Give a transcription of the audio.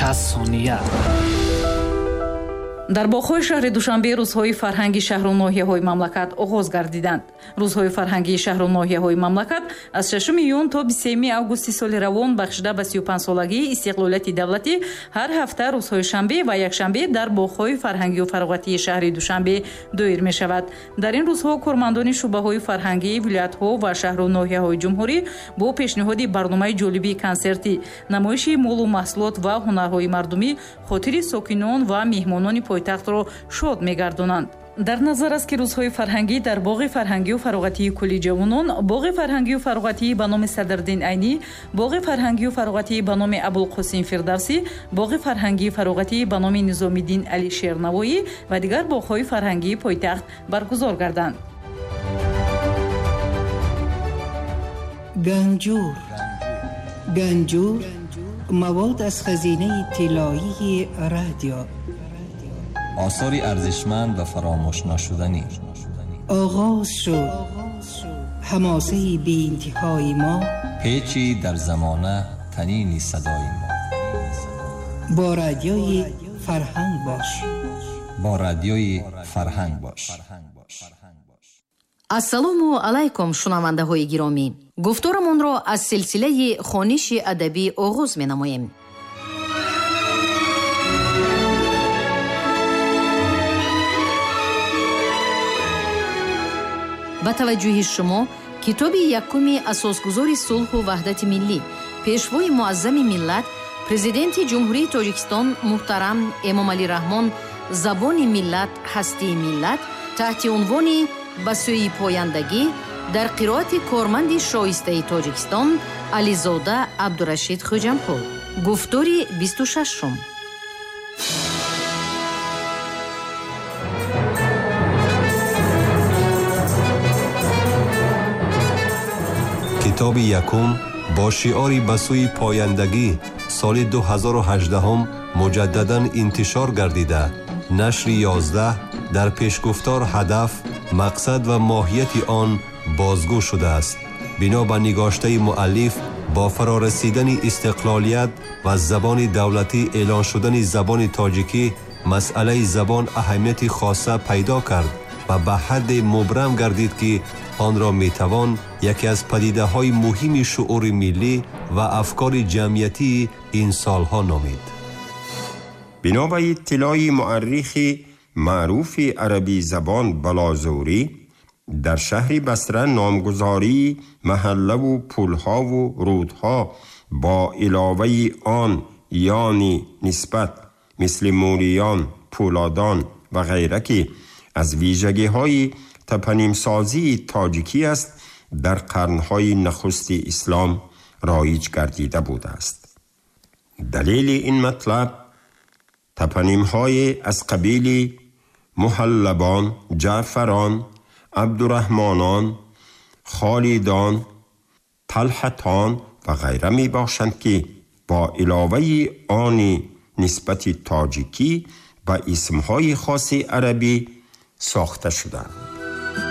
60 сония. Дар боғҳои шаҳри Душанбе рӯзҳои фарҳанги шаҳру ноҳияҳои мамлакат оғоз гардиданд. Рӯзҳои фарҳангии шаҳру ноҳияҳои мамлакат аз 6 июн то 23 августи соли равон бахшида ба 35-солагии истиқлолияти давлатӣ ҳар ҳафта рӯзҳои шанбе ва якшанбе дар боғҳои фарҳангию фароғатии шаҳри Душанбе доир мешавад. Дар ин рӯзҳо кормандони шӯъбаҳои фарҳангии вилоятҳо ва шаҳру ноҳияҳои ҷумҳурӣ бо пешниҳоди барномаи ҷолиби консертӣ, намоиши молу маҳсулот ва ҳунарҳои мардумӣ хотири сокинон ва меҳмонони пойтахтро шод мегардонанд. Дар назар аст, ки рӯзҳои фарҳангӣ дар боғи фарҳангию фароғатии кулли ҷавонон, боғи фарҳангию фароғатии ба номи Садриддин Айнӣ, боғи фарҳангию фароғатии ба номи Абулқосим Фирдавсӣ, боғи фарҳангии фароғатии ба номи Низомиддин Алишер Навоӣ ва дигар боғҳои фарҳангии пойтахт баргузор гарданд. Ганҷур, Ганҷур, мавод аз хазинаи тиллоии радио. Осори арзишманд ва фаромӯшнашуданӣ. Оғоз шуд ҳамосаи беинтиҳои мо, печи дар замона танини садои мо. Бо радиои Фарҳанг бош. Бо радиои Фарҳанг бош. Ассалому алайкум, шунавандаҳои гиромӣ. Гуфторамонро аз силсилаи хониши адабӣ оғоз менамоем. Ба таваҷҷӯҳи шумо китоби якуми асосгузори сулҳу ваҳдати миллӣ, пешвои муаззами миллат, президенти Ҷумҳурии Тоҷикистон муҳтарам Эмомалӣ Раҳмон «Забони миллат, ҳастии миллат» таҳти унвони «Ба сӯи пояндагӣ» дар қироати корманди шоистаи Тоҷикистон Ализода Абдурашид Хӯҷамқул. Гуфтори 26-ум. Китоби якум бо шиори «Ба сӯи пояндагӣ» соли 2018 муҷаддадан интишор гардида, нашри 11 дар пешгуфтор ҳадаф, мақсад ва моҳияти он бозгӯ шудааст. Бино ба нигоштаи муаллиф, бо фарорасидани истиқлолият ва забони давлатӣ эълон шудани забони тоҷикӣ, масъалаи забон аҳамияти хоса пайдо кард ва ба ҳадде мубрам гардид, ки онро метавон яке аз падидаҳои муҳими шуури миллӣ ва афкори ҷамъиятии ин солҳо номид. Бино ба иттилои муаррихи маъруфи арабӣ забон Балозурӣ, дар шаҳри Басра номгузории маҳаллаву пулҳову рудҳо бо иловаи он ёни нисбат мисли Мӯриён, Пӯлодон ва ғайра, ки аз вижагиҳои топонимсозии тоҷикӣ аст, дар қарнҳои нахусти ислом роиҷ гардида будааст. Далели ин матлаб топонимҳое аз қабили Муҳаллабон, Ҷаъфарон, Абдураҳмонон, Холидон, Талҳатон ва ғайра мебошанд, ки бо иловаи они нисбати тоҷикӣ ба исмҳои хоси арабӣ сохта шуданд.